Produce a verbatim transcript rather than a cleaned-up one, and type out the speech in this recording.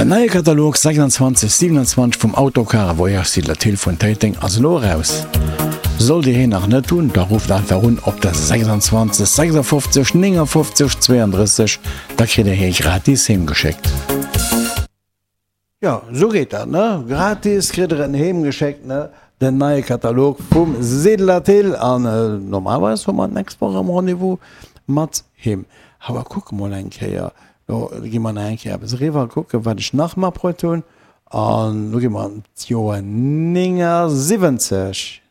Den neie Katalog sechsundzwanzeg siewenundzwanzeg vum Autocar a Voyage Siedler Thill vun Téiteng ass elo eraus. Sollt Dir hien nach net hunn, da rufft einfach un op der sechsundzwanzeg sechsundfofzeg néngundfofzeg zweiunddrësseg, da kritt Dir hie gratis heem geschéckt. Jo, sou geet dat, ne? Gratis kritt Der en heem geschéckt, ne? Den neie Katalog vum Siedler Thill. An normalerweis hu mer d'nächst Woch erëm Rendez-vous mat him. Awer kucke mol eng Kéier, lo gi mer nach eng Kéier eppes eriwwer kucken, wat ech nach matbruet hunn. An lo gi mer an d'Joer néngasiwwenzeg.